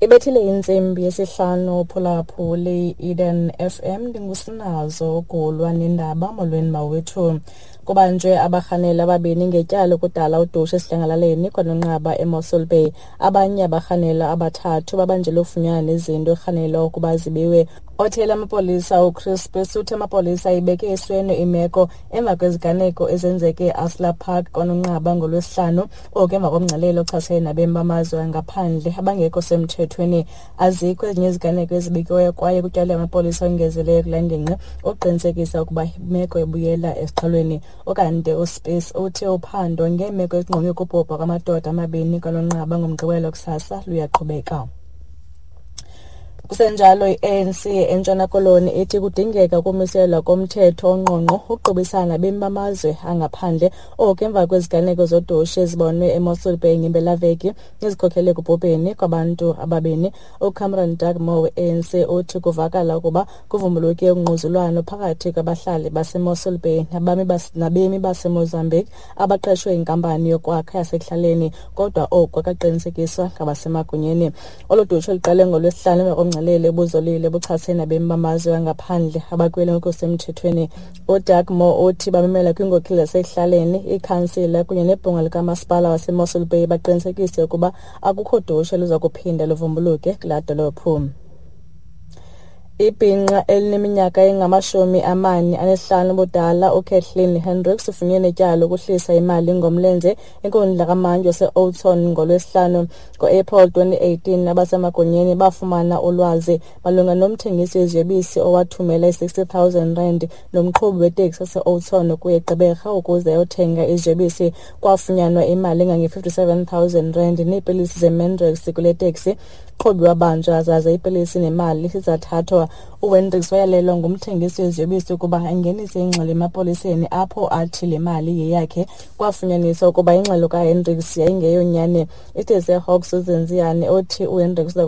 Ibethile intsimbi yesihlanu phulaphuli Eden FM, ndingusinazo ugulwa nendaba. Molweni mawethu. Kubanjwe abarhaneli ababini ngetyala lokudala udushe esidlangalaleni kwanonqaba eMossel Bay. Abanye abarhanelwa abathathu babanjelwe ufunyanwa nezinto erhanelwa ukuba zibiwe. Othela amapolisa uChris Spies uthe amapolisa ayibeke esweni imeko emva kweziganeko ezenzeke eAsla Park kwanonqaba ngoLwesihlanu, oku emva komngcelele ochasene nabemi bamazwe angaphandle abangekho semthethweni. Azikho ezinye iziganeko ezibikiweyo kwaye kutyalwe amapolisa ongezeleleyo kule ngingqi ukuqinisekisa ukuba imeko ibuyela esiqhelweni. Ukanti uSpies uthe uphando ngeemeko ezingqonge ukubhubha kwamadoda amabini kwanonqaba ngoMgqibelo kusasa luyaqhubeka. Kusenjalo, i-ANC eNtshona Koloni ithi kudingeka ukumiselwa komthetho ongqongqo ukuqubisana nabemi bamazwe angaphandle, oku emva kweziganeko zodushe ezibonwe eMossel Bay ngempelaveki ezikhokelele ekubhubheni kwabantu ababini. UCameron Dugmore we-ANC uthi kuvakala ukuba kuvumbuluke ungquzulwano phakathi kwabahlali baseMossel Bay nabemi baseMozambique abaqeshwe yinkampani yokwakha yasekuhlaleni, kodwa oku akaqinisekiswa ngabasemagunyeni. Olu dushe luqale ngoLwesihlanu emva komngcelele obuzolile buchasene nabemi bamazwe angaphandle abakwele ngokusemthethweni. UDugmore uthi bamemela kwiinkokheli zasekuhlaleni, iikhansila kunye nebhunga likamasipala waseMossel Bay baqinisekise ukuba akukho dushe luza kuphinda luvumbuluke kulaa dolophu. Ibhinqa elineminyaka engama-45 ubudala uKathleen Hendricks ufunyenwe ityala lokuhlisa imali ngomlenze enkundla kamantyi waseOudtshoorn ngoLwesihlanu. Ngo-April 2018 abasemagunyeni bafumana ulwazi malunga nomthengisi weziyobisi owathumela i-60 000 rand nomqhubi weteksi waseOudtshoorn ukuya eGqeberha ukuze ayothenga iziyobisi. Kwafunyanwa imali engange-57 000 rand neepilisi zeMandrax kule teksi. Umqhubi wabanjwa zaze iipilisi nemali zathathwa. UHendricks wayalelwa ngumthengisi weziyobisi ukuba angenise ingxelo emapoliseni apho athi le mali yeyakhe. Kwafunyaniswa ukuba ingxelo kaHendricks yayingeyonyani. Isithethi seHawks uZenziyane othi uHendricks uza.